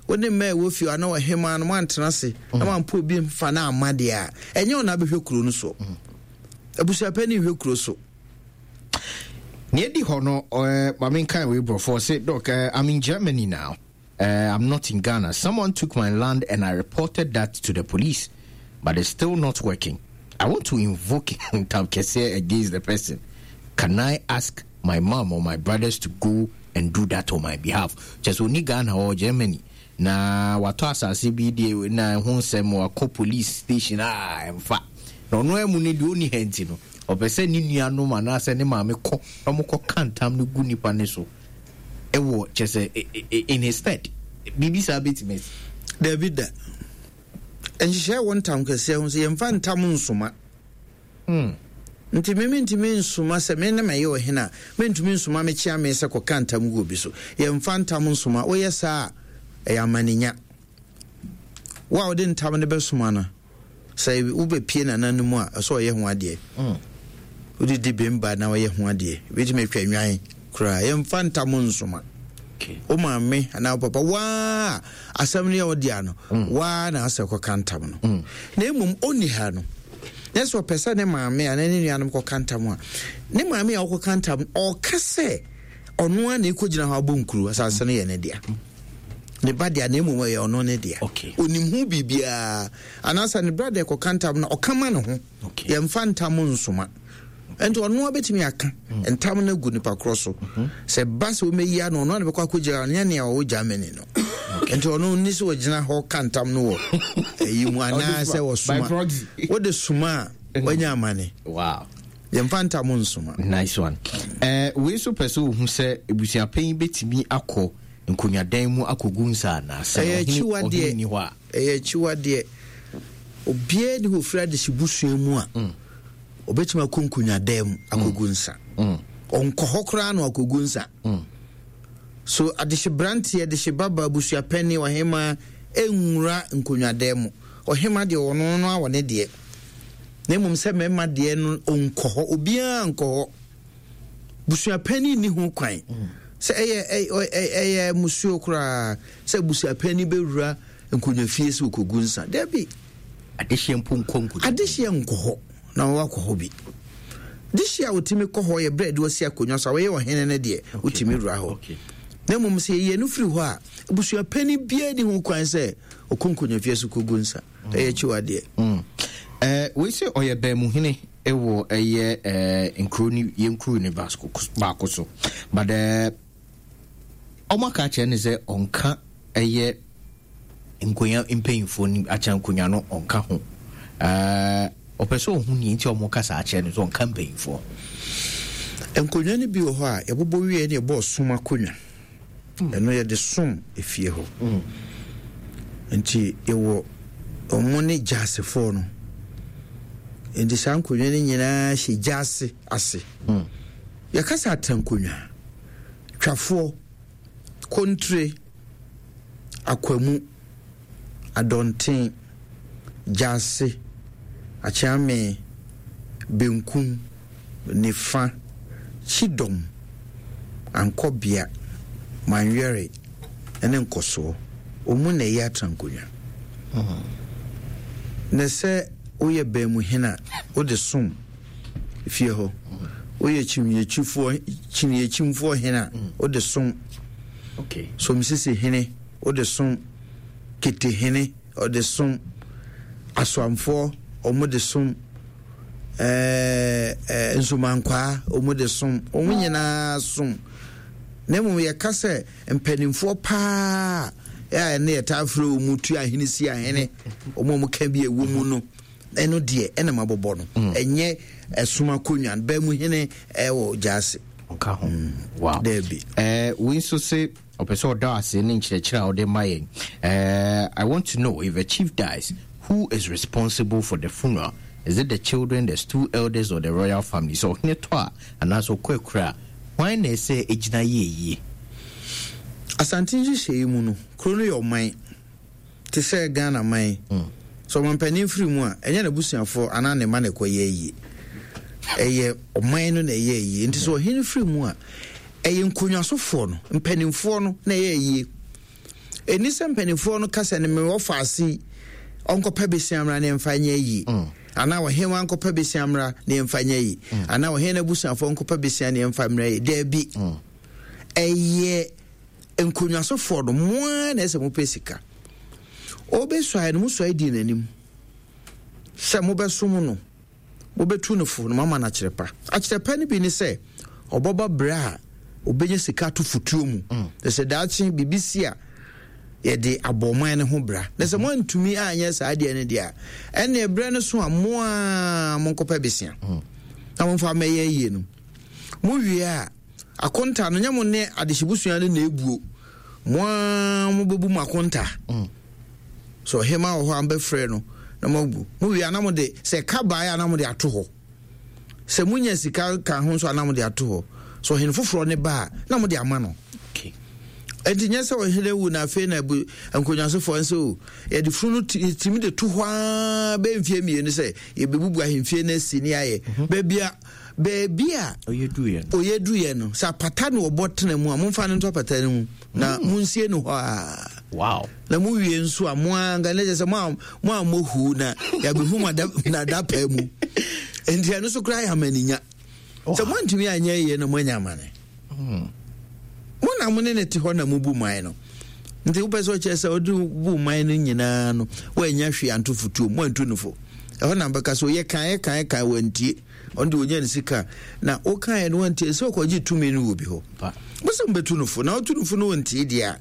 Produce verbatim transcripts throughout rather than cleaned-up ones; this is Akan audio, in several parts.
Wo ne mmaa ɛwɔ fie anaa ɔhemaa no moantena ase na moampɛ obi mfa no amma deɛ a, ɛnyɛ wo na abɛhwɛ kuro no so. Abusuapɛni nhwɛ kuro so. Nea ɛdi hɔ no, uh, ma menkan wei borɔfoɔ sɛ, Doc, uh, I'm in Germany now. Uh, I'm not in Ghana. Someone took my land and I reported that to the police, but it's still not working. I want to invoke Ntam Kɛseɛ against the person. Can I ask my mom or my brothers to go and do that on my behalf? Kyɛ sɛ ɔni Ghana or Germany na watɔ asase bi deɛ na ɛho nsɛm wakɔ police station a ɛmfa na ɔno amu no deɛ ɔnni ha nti no ɔpɛ sɛ ne nuanom anaasɛ ne maame kɔ na wɔkɔ ka ntam no gu nipa no so ɛwɔ kyɛ sɛ in his stead. Biribi saa bɛtumi asi? Dabi da. Nhyehyɛe wɔ ntam kɛseɛ ho sɛ yɛmfa ntam nsoma. Mm. Nti me mentumi nsoma sɛ me ne mɛyɛ ɔhene a, mentumi nsoma me kyeame sɛ kɔka ntam gu obi so. Yɛmfa ntam nsoma. Woyɛ saa a, ɛyɛ amanenya. Wo a wode ntam no bɛsoma no, sɛ wobɛpie nana no mu a, ɛsɛ ɔyɛ ho adeɛ. Mm. Wode di bem ba na ɔyɛ ho adeɛ. Wobɛtumi atwa nwan koraa. Yɛmfa ntam nsoma. Okay. Wo maame anaa wo papa, waa asɛm no yɛ wo dea no, mm. waa na asɛ kɔka ntam no. Mm. Na mmom ɔnni ha no, na sɛ ɔpɛ sɛ ne maame anaa ne nuanom kɔka ntam a, ne maame a ɔkɔka ntam, ɔka sɛ ɔno ara na ɛkɔgyina hɔ abɔ nkuro, asase no yɛ ne dea. Ne ba dea, na mmom ɛyɛ ɔno ne dea. Okay. Onim ho biribiara. Anaasɛ ne brada kɔka ntam no, ɔka ma ne ho. Okay. Yɛmfa ntam nsoma. Nti ɔno ara bɛtumi aka mm. ntam no agu nipa korɔ so. Mm-hmm. Sɛ ba sɛ wɔmɛyi ano, ɔno ara na bɛkɔ akɔgyina, ɔnyɛ nea ɔwɔ Germany no. Nti ɔno nni sɛ ɔgyina hɔ ka ntam no wɔ ɛyi mu anaasɛ ɔsoma. Wode soma a, wanya amane. Wow. Yɛmfa ntam nsoma. Nice one. Eh, wei nso pɛ sɛ ohu sɛ abusuapanyin bɛtumi akɔ nkonnwadan mu akɔgu nsa anaa sɛ Ɛyɛ ɔhene akyiwadeɛ. ɔhene nni hɔ a. Ɛyɛ akyiwadeɛ. Obiara ni hɔ ofiri adehye busua mu a mm. obetumi akɔ nkonnwadan mu akɔgu mm. nsa. Mm. Ɔnkɔ hɔ koraa na akɔgu nsa. Mm. So adehye branteɛ, adehye baba, abusuapanin, ɔhemaa nwura nkonnwadan mu. Ɔhemaa deɛ ɔno no awɔ ne deɛ. Na mmom sɛ mmarima deɛ no ɔnkɔ hɔ, obiara nkɔ hɔ. Busuapanin nni ho kwan. Mm. Sɛ ɛyɛ ɛyɛ musuo koraa sɛ busuapanin bɛwura nkonnwa fie sɛ ɔkɔgu nsa. Dabi. Adehyeɛ mpo nkɔ nkonnwa. Adehyeɛ nkɔ hɔ na wakɔ hɔ bi. Dehyeɛ a wɔtumi kɔ hɔ yɛ berɛ de wɔsi akonnwa so a wɔyɛ ɔhene no deɛ wotumi wura hɔ. Na mmom sɛ yɛyɛ no firi hɔ a, abusuapanin biara ni ho kwan sɛ ɔkɔ nkonnwa fie so kɔgu nsa. Mm. Ɛyɛ akyiwadeɛ. Mm. Eh, wei sɛ ɔyɛ bɛnmuhene wɔ ɛyɛ eh, nkuro ne yɛn kuro ne baako so, but eh, ɔmo aka akyerɛ ne sɛ ɔnka ɛyɛ nkonya mpanyinfoɔ no akyɛ nkonya no ɔnka ho. Eh, ɔpɛ sɛ ɔhu nea nti ɔmo ka saa akyerɛ no sɛ ɔnka mpanyinfoɔ. Nkonnwa no bi wɔ hɔ a yɛbobɔ wie ne yɛbɔ ɔsom akonnwa. Mm. Ɛno yɛde som efie hɔ. Mm. Nti yɛwɔ ɔmo ne gyasefoɔ no. Nti saa nkonnwa no nyinaa hyɛ gyase ase. Mm. Yɛka sɛ atrankonnwa, twafoɔ, kontire, akwamu, adɔnten, gyase, akyeame, benkum, nifa, kyidɔm, ankɔbea, manwɛre ne nkɔsoɔ. Ɔmu na ɛyɛ atrankonnwa. Mm. Na sɛ woyɛ baamuhene a, wode som fie hɔ. Woyɛ kyiniakyifoɔ, kyiniakyimfoɔ hene a, Mm. wode som. Okay. Somsisi hene, wode som. Kete hene, ɔde som. Asoamfoɔ, ɔmo de som. Ɛɛ, ɛɛ, nsomankwaa, ɔmo de som. Ɔmo nyinaa som. Na mmom yɛka sɛ mpanimfoɔ paa a ɛne yɛtaa frɛ wɔn mu tu ahene si ahene, wɔn a wɔka bi a ɛwɔ mu no, ɛno deɛ ɛna mabobɔ no. Mm. Ɛnyɛ ɛsom akonnwa no, bɛn mu hene ɛwɔ gyaase. Ɔka ho. Mm. Wow. Daabi. Eh, wei nso se ɔpɛ sɛ ɔda ase ne nkyerɛkyerɛ a ɔde ma yɛn. Eh, I want to know if a chief dies, who is responsible for the funeral? Is it the children, the stool elders, or the royal family? So ɔhene tɔ a anaasɛ ɔkɔ akura a, hwan na ɛsɛ egyina yie yie? Asante nhyehyɛe mu no, kuro no yɛ ɔman te sɛ Ghana man. Mm. Sɛ ɔmampanin firi mu a, ɛnyɛ n'abusuafoɔ anaa ne mma na ɛkɔyɛ ayie. Ɛyɛ ɔman no na ɛyɛ ayie. Nti sɛ ɔhene firi mu a, ɛyɛ nkonnwasofoɔ no, mpanimfoɔ no na ɛyɛ ayie. Ɛni sɛ mpanimfoɔ no kasa no, mewɔ faase ɔnkɔpɛ besia mmra ne mfa nyɛ yie mm. anaa ɔhene nkɔpɛ besia mmra ne mfa nyɛ yie mm. anaa ɔhene abusuafoɔ nkɔpɛ besia ne mfa mmra yie. Daabi, mm. ɛyɛ nkonnwasofoɔ no moa na ɛsɛ mopɛ sika. Ɔbɛsuaeɛ no, mosuae dii n'anim sɛ mobɛsom no, mobɛtu no fo no, mama no akyerɛ pa. Akyerɛ pa no bi ne sɛ ɔbɛba berɛ a ɔbɛnya sika ato fotuo mu mm. na sɛ daakye biribi si a, yɛde abɔ ɔman no ho bra. Na sɛ moantumi anyɛ saa deɛ no deɛ a, ɛne berɛ no so a, moa monkɔpɛ besia mm. na momfa mɛyɛ yie no. Mowie a, akonta no nyɛ mo ne adehyebusua no na ebuo. Moa mobɛbu mo akonta mm. So ɔhema wɔ hɔ a, mobɛfrɛ no na moabu. Mowie a, na mode sɛ ka baeɛ a, na mode ato hɔ. Sɛ monya sika ka ho nso a, na mode ato hɔ. So ɔhene foforɔ ne ba a, na mode ama no. Ɛnti nyɛ sɛ ɔhene wu na afei na bu nkonnwasofoɔ nso o, yɛde funu no timi de to hɔ aa bɛyɛ mfie mmienu sɛ yɛbɛbubu ahemfie no asi ne ayɛ mhm. baabi a baabi a ɔyɛ duyɛ no. Sɛ apata no ɔbɔ tena mu a, momfa no nto apata no mu na mm. monsie no hɔ a. Wow na mowie nso a, mo anka ne kyɛ sɛ mo a mohu na yɛabɛhu mo nadapa mu. Enti ɛno so koraa yɛ amaninya sɛ moantumi anyɛ yie no, moanya amane hmm. Mo na mo ne ne te hɔ na mobu man no. Nti wopɛ sɛ ɔkyerɛ sɛ wode bu man no nyinaa no, woanya hwee anto fotuo mu, woantu no fo. Ɛhɔ na bɛka sɛ ɔyɛ kan yɛ kan kan, wantie. Ɔno de ɔnya ne sika na wokaeɛ no, wantie sɛ ɔkɔgye tumi no wɔ bi hɔ. Mo sɛ mobɛtu no fo na wotu no fo no, wɔntie deɛ a,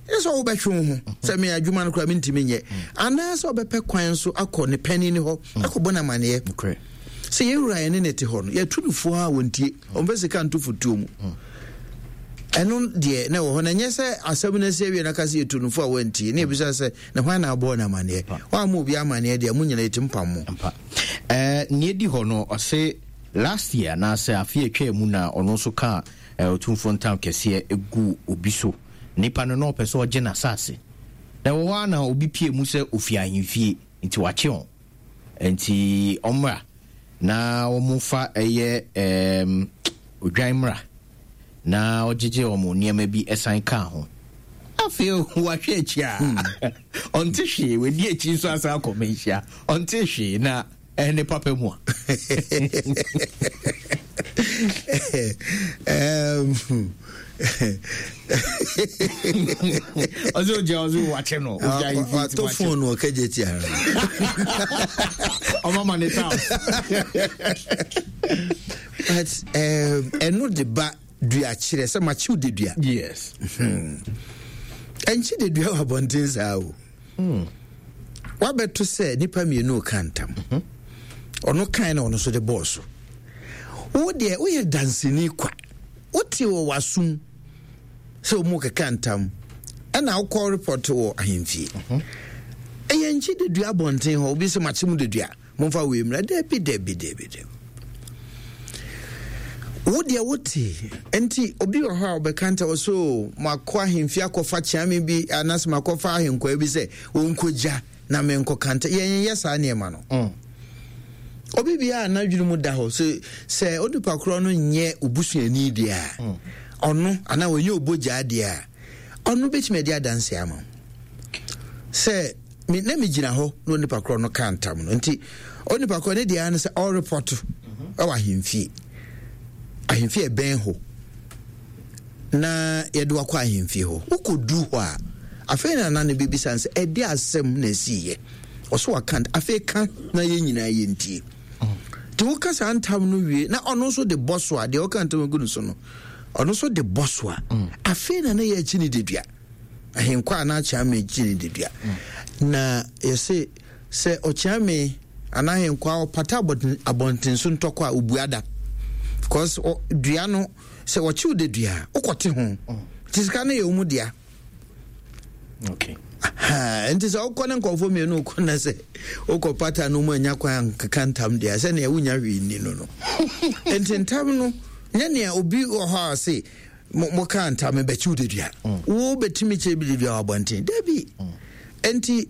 ɛsɛ sɛ wobɛtwe wo ho sɛ me adwuma no koraa mentumi nyɛ, anaasɛ wobɛpɛ kwan so akɔ ne pani ne hɔ akɔbɔ no amanneɛ sɛ yɛwura yɛne ne te hɔ no, yɛtu no fo a wɔntie, ɔmfɛ sika nto fotuo mu. Ɛno deɛ na ɛwɔ hɔ na ɛnyɛ sɛ asɛm no asi awie no aka sɛ yɛtu no fo a wantie, ne yɛbisa sɛ na hwan na abɔɔ no amanneɛ? Woamma obi amanneɛ deɛ, mo nyina yɛtim pam mo. Neɛ di hɔ no, ɔse last year anaasɛ afe atwa mu na ɔno nso kaa Ɔtumfoɔ ntam kɛseɛ gu obi so. Nipa no na ɔpɛ sɛ ɔgye n'asase na ɛwɔ hɔ a, na obi pie mu sɛ ofi ahemfie nti wakye wɔn, nti ɔmmra na wɔn fa ɛyɛ ɛɛm odwan mmra na ɔgyegye wɔn nneɛma bi ɛsan kaa ho. Afei wahwɛ akyi a, ɔnte hwee. Wadi akyi nso asan akɔ manhyia, ɔnte hwee na ɛne papa mu a. um, Ɔsɛ ogya, ɔsɛ wakye no. Wato phone wɔ kagye tia. Ɔmama ne town. But ɛno de ba dua kyerɛ sɛ makyew de dua. Yes ɛnkye de dua wɔ abɔnten saa o hmm. Wabɛto sɛ nipa mmienu ka ntam, mhm. ɔno kan na ɔno nso de bɔɔ so. Wo deɛ woyɛ danseni kwa, wote wɔ w'asom sɛ ɔmu keka ntam, ɛna wokɔ report wɔ ahemfie. mhm. Ɛyɛ nkyi de dua abɔnten hɔ, obi sɛ makye mu de dua, momfa wei mmra. Dabi, dabi, dabi, dabi. Wo deɛ wote. Nti obi wɔ hɔ a ɔbɛka nta wɔ so, makɔ ahemfie akɔfa kyeame bi anaasɛ makɔfa ahenkwaa bi sɛ wɔnkɔgya na menkɔka nta. Yɛnyɛ saa nneɛma no mm. Obi biara n'adwene mu da hɔ sɛ sɛ onipa korɔ no nyɛ obusuani deɛ a, mm. ɔno anaa ɔnyɛ obogyaa deɛ a, ɔno bɛtumi adi adanse ama sɛ me na megyina hɔ na onipa korɔ no ka ntam no. Nti onipa korɔ ne deɛ no sɛ ɔrepɔto ɛwɔ ahemfie, ahemfie ɛbɛn hɔ, na yɛde wakɔ ahemfie hɔ. Wokɔdu hɔ a, afei na nana no bɛbisa no sɛ ɛde asɛm na ɛsiiɛ. Ɔso waka, afei ka na yɛn nyinaa yɛntie. Nti woka saa ntam no wie na ɔno nso de bɔ so a, deɛ ɔka ntam gu no so no, ɔno nso de bɔ so a, afei na na yɛakyi ne dedua ahenkwa a na akyea kyi ne dedua. Na yɛse sɛ ɔkyea me anaa ahenkwa ɔpata abɔnten so ntɔkɔ a, obua da because dua no sɛ wɔkyew de dua a, wokɔte ho nti sika no yɛ wo mu dea. Okay nti sɛ wokɔ ne nkɔfoɔ mmienu wokɔ na sɛ wokɔ pata no mu anya kwan ankeka ntam deɛ, sɛnea wonya hwee nni no no Nti ntam no nyɛ nea obi wɔ hɔ a se moka ntam bɛkyew de dua, wo bɛtumi kyerɛ bi de dua wɔ abɔnten. Dabi. Nti